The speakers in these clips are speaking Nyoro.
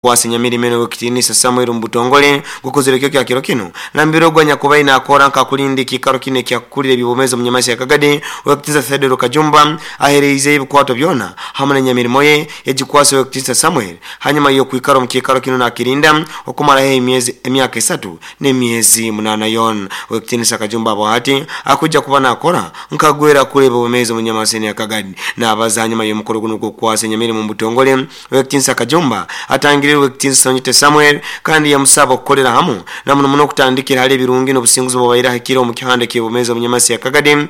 Kwasa enyamirimo enu ow'ekitiinisa Samuel omu butongole gukozere ekiro kya kiro kinu nambere ogu anyakubaire nakora nk'akulinda ekiikaro kinu ekyakukulira eby'obwomeezi omu Nyamasi ya Kagadi ow'ekitiinisa Theodore Kajumba ahereizeyo ebikwato byona hamu n'enyamirimo ye yagikwasa ow'ekitiinisa Samuel hanyuma y'okwikara omu kiikaro kinu nakirinda okumara haihi emyezi emyaka esatu n'emyezi munaana yoona. Ow'ekitiinisa Kajumba abo hati akwija kuba nakora nk'agwera akura eby'obwomeezi omu Nyamasi enu ya Kagadi. Nabaza hanyuma y'omukoro gunu ogw'okukwasa enyamirimo omu butongole Ow'ekitiinisa Kajumba atangiriire Ow'ekitiinisa Onyite Samuel kandi yamusaba okukolera hamu na muno muno okutandikira hali ebirungi n'obusinguzi obubaire ahikire omu kihanda eky'obwomeezi omu Nyamasi ya Kagadi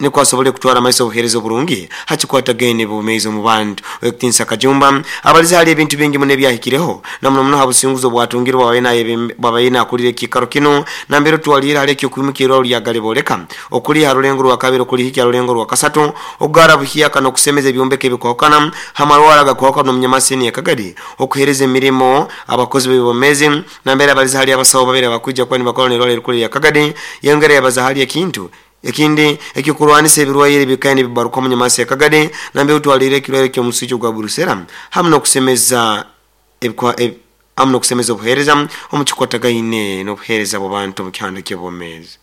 nukwo asobole kutwara amaiso obuheereza oburungi ha kikwatagaine n'obwomeezi omu bantu. Ow'ekitiinisa Kajumba abalize hali ebintu bingi muno ebyahikireho na muno muno ha businguzi obwatungire obwabaire nakulira ekiikaro kinu nambere otwaliire hali eky'okwimukya irwaro lya Galiboleka okuli ha rulengo rwakabiri okulihikya ha rulengo rwakasatu Okugara buhyaka n'okusemeza ebyombeko ebikwahukana ha marwaro agakwahukana omu Nyamasini ya Kagadi, okuhereza emirimo abakozi b'eby'obwomeezi nambere abalize hali abasaho babiri abakwija kuba nibakora n'irwaro erikuru erya Kagadi. Yongera yabaza hali ekintu ekindi eky'okurwanisa ebirwaire ebikaire nibibaruka omu Nyamasi ya Kagadi nambere otwaliire ekirwaire ky'omuswija ogwa Brucella hamu n'okusemeza hamu n'okusemeza obuheereza omu kikwatagaine n'obuheereza bw'abantu omu kihanda ky'obwomeezi.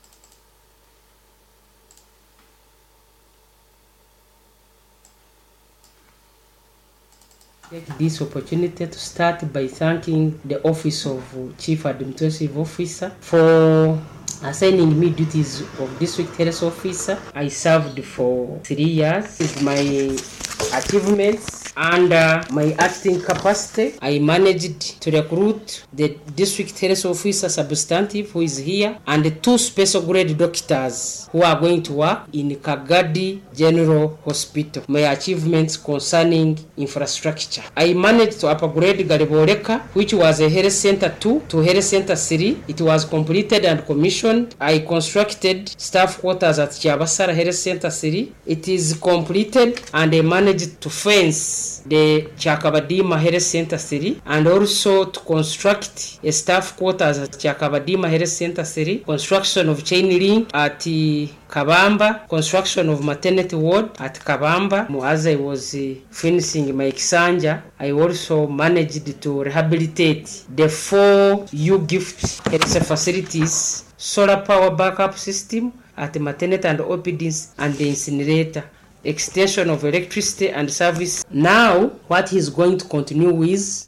Take this opportunity to start by thanking the office of Chief Administrative Officer for assigning me duties of District Health Officer. I served for 3 years. Is my achievements under my acting capacity. I managed to recruit the District Health Officer substantive who is here and two special grade doctors who are going to work in Kagadi General Hospital. My achievements concerning infrastructure. I managed to upgrade Galiboleka, which was a health center 2 to health center 3. It was completed and commissioned. I constructed staff quarters at Chabasara Health Center 3. It is completed and I managed to fence the Chakabadima Health Center 3 and also to construct a staff quarters at Chakabadima Health Center 3, construction of chain link at Kabamba, construction of maternity ward at Kabamba. As I was finishing my Kisanja, I also managed to rehabilitate the four U-Gift health facilities, solar power backup system at maternity and OPDs and the incinerator, extension of electricity and service. Now, what he's going to continue with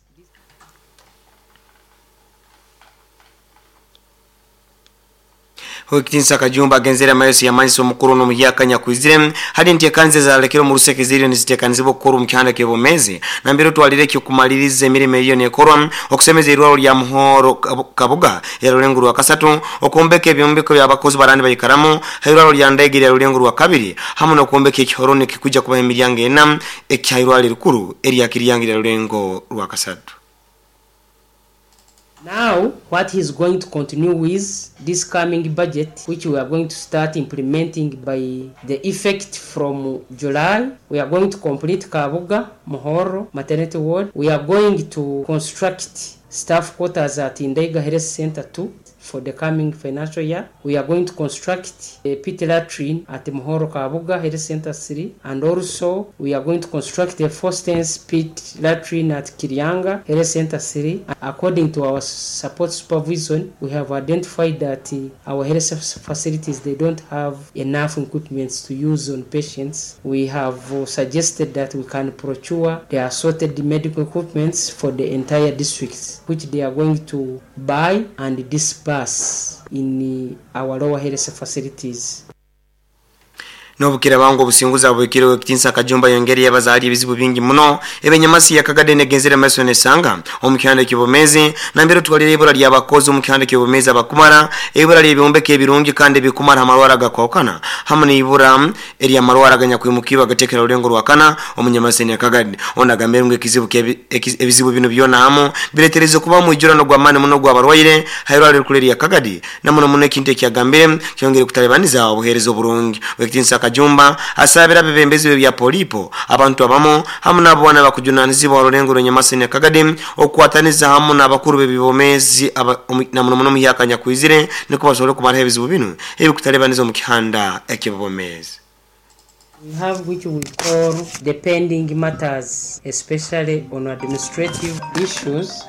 Owekitinisa Kajumba agenzere amaiso yamanyisa omukuru onu omuhyaka anyakwizire hali enteekaniza ezalekere omu ruseke ziriyo niziteekanizibwa okukorwa omu kihanda ky'obwomeezi nambere otwalire eky'okumaliriza emirimo eriyo nekorwa okusemeza eirwaro lya Muhoro Kabuga erya Rulengo rwakasatu, okwombeka ebyombeko by'abakozi barandi baikaramu ha irwaro lya Ndaiga erya Rulengo rwakabiri hamu n'okwombeka ekihoroni ekikwija kubaho emiryango ena ekya irwaro erikuru erya Kiryanga erya Rulengo rwakasatu. Now, what he's going to continue with this coming budget, which we are going to start implementing by the effect from July, we are going to complete Kabuga, Muhoro Maternity Ward. We are going to construct staff quarters at Ndaiga Health Center 2 for the coming financial year. We are going to construct a pit latrine at Muhoro Kabuga Health Center 3, and also we are going to construct a four-stance pit latrine at Kiryanga Health Center 3. According to our support supervision, we have identified that our health facilities, they don't have enough equipment to use on patients. We have suggested that we can procure the assorted medical equipments for the entire districts, which they are going to buy and disperse in our lower health facilities. N'obukiraaba ngu obusinguzi abuhikire, Owekitinisa Kajumba ayongeire yabaza hali ebizibu bingi muno ebi Enyamasi ya Kagadi negenzere maiso nesanga omu kihanda eky'obwomeezi nambere otwalire ibura ly'abakozi omu kihanda ky'obwomeezi abakumara, ibura ly'ebyombeko ebirungi kandi ebikumara amarwaro agakwahukana hamu n'ibura ery'amarwaro aganyakwimukirwe agatekera rulengo rwakana omu Nyamasini ya Kagadi. Onu agambire ngu ekizibu ebizibu binu byona hamu biretereze kuba omwijurano gw'amaani muno ogw'abarwaire ha irwariro erikuru erya Kagadi na muno muno ekintu ekiyagambire kyongere kutalibaniza obuheereza oburungi. Owekitinisa Kajumba asabire abebembezi b'ebya Polipo, abantu abamu hamu n'abo boona abakujunanizibwa orulengo rw'Enyamasini ya Kagadi okukwataniza hamu n'abakuru b'ebyomeezi na muno muno omuhyaka anyakwizire nukwo basobole kumaraho ebizibu binu ebikutalibaniza omu kihanda eky'obwomeezi. We have which we call the pending matters, especially on administrative issues.